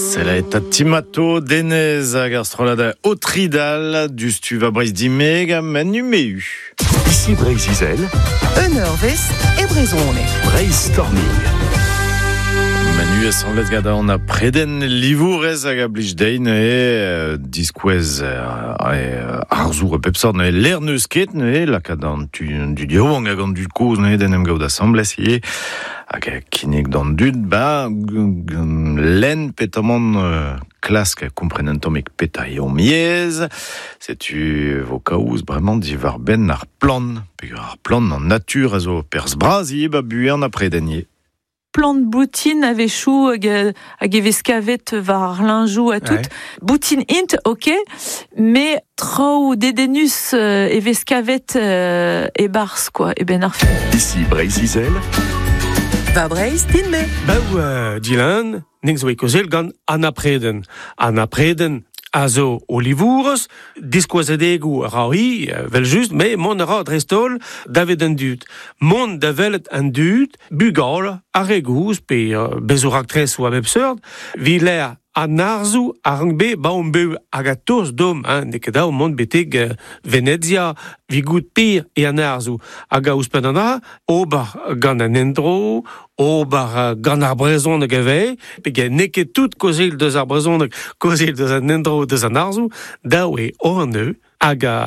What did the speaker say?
Sela eta timato denez hag ar strollad Otridal du stu va Breizh dimeg ha menu meu. Ici Breizh-Izel, Un eurvezh e brezhoneg. Breizh Storming. Manu asamblez gant an a preden livourez hag a blij dein e diskouez arzour e pep sort ne l'air neus ket ne lakaat an tu du diouang hag an dud kozh ne den em gaout asamblez ivez hag a kinnig d'an dud ba len petamant klask kompren un tammig peta eo miez setu vo kaoz bremañ diwar benn ar plan peogwir ar plan an natur a zo perzh bras ivez ba buan a preden ivez. Plant boutin a-wechoù hag e vez kavet war ar linjoù ha tout. Ouais. Boutin int, ok, mais traoù dedennus e vez kavet e-barzh, quoi, e ben ar fin. Ici Breizh-Izel, Va Breizh din-me. Bau Dylan, ning zo e kozel gant Anna Preden. Anna Preden a zo o livourez, diskouezadegou a ra hi, vel just, me mont a ra dreist-holl davet an dud. Mont da welet an dud, bugal, ar re gouz, pe bezo raktres ou a bep seurt, vi l'air an arzoù a rank be ba on bev hag a toz dom, hein, n'eo ket dav mont betek Venezia, vi gout pir e an arzoù. Hag a ouzhpenn an a, ober gant an endro, ober gant ar brezhoneg ivez, peogwir n'eo ket tout kozil deus ar brezhoneg, kozil deus an endro deus an arzoù, dav eo an eu, hag a